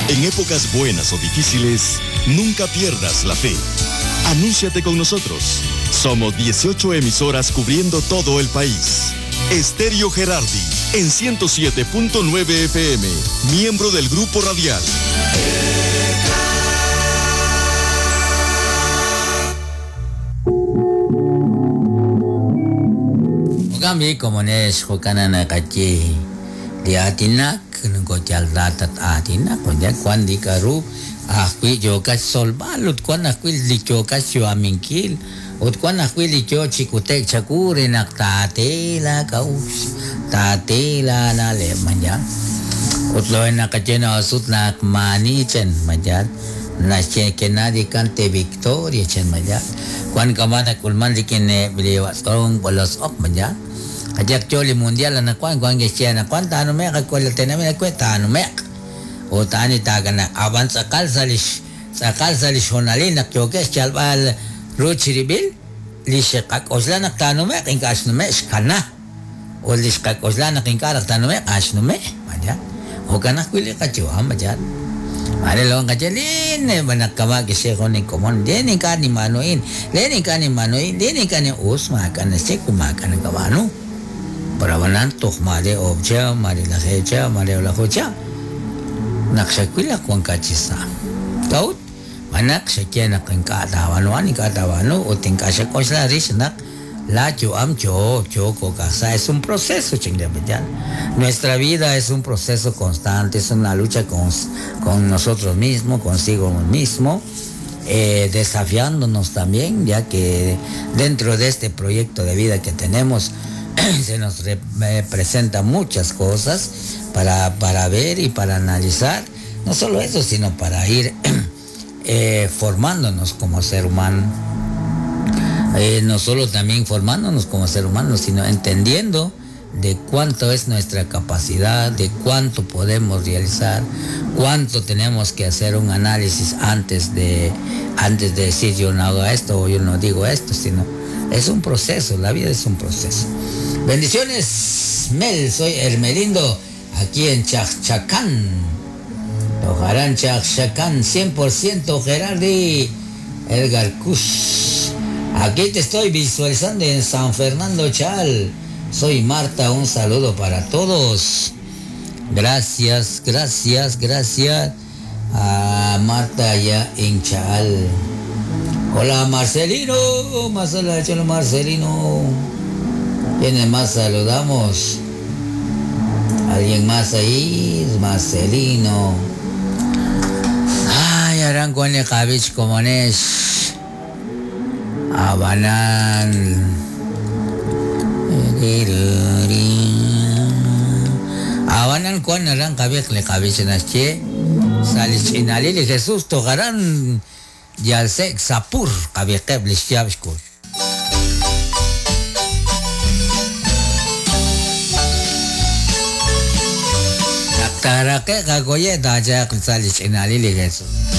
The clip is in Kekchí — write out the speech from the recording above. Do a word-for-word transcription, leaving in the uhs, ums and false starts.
En épocas buenas o difíciles, nunca pierdas la fe. Anúnciate con nosotros. Somos dieciocho emisoras cubriendo todo el país. Estéreo Gerardi, en ciento siete punto nueve F M, miembro del Grupo Radial. Kami como nes hokanana kachi liatinak nkotyaldatat atinak onya kwan dikaru ajwi yokas solbalut kwan ajwi lichokas yoaminkil ut kwan ajwi licho chikutek chakure nak tatela kaus tatela nale manya ut lo nakachena asut nak manichen manya nache que nadie cante victoria chen manya kwan kamana kulman dikine biliwasong bolos ok manya Kajak choli mundial na kwan kwan gesya na kwan tano me ka tename na kwe tano me o tani taga na avan sakal salish sakal salish honali na kyoke chalbal ruchiribil lishqak osla na tano me inkas no me shkana o lishqak osla na kinkara tano me as no me manya o kana kwili kacho amajan mare long kachelin banakama gesya konin komon deni kani manoin leni kani manoin deni kani usma kana sekuma kana kawano Parabanan tohmare obcha mare la hecha mare la hocha nakshakwila kwan kachisa kaut manak shakiana kinkata wano ani kata wano o tinkasha kosla rishnak la cho am cho cho kokasa es un proceso chingabeyan. Nuestra vida es un proceso constante, es una lucha con, con nosotros mismos, consigo mismo, eh, desafiándonos también, ya que dentro de este proyecto de vida que tenemos se nos re, eh, presenta muchas cosas para, para ver y para analizar, no solo eso, sino para ir eh, formándonos como ser humano. Eh, no solo también formándonos como ser humano, sino entendiendo de cuánto es nuestra capacidad, de cuánto podemos realizar, cuánto tenemos que hacer un análisis antes de, antes de decir yo no hago esto o yo no digo esto, sino es un proceso, la vida es un proceso. Bendiciones, Mel, soy Hermelindo, aquí en Chacchacán. Tojarán Chacchacán, cien por ciento Gerardi, Edgar Kush. Aquí te estoy visualizando en San Fernando Chal. Soy Marta, un saludo para todos. Gracias, gracias, gracias a Marta allá en Chal. Hola Marcelino, Marcelo, Marcelino. ¿Quiénes más saludamos? ¿Alguien más ahí? Marcelino. Ay, Arancuane Javich Comones. Abanán. Abanán cuan aran Javich le Javich nasche. Salichinalili Jesús togarán. Yalsek sapur kabiqeb lishyabshkur. Taraqe qagoye dajaq salichinalili Jesús.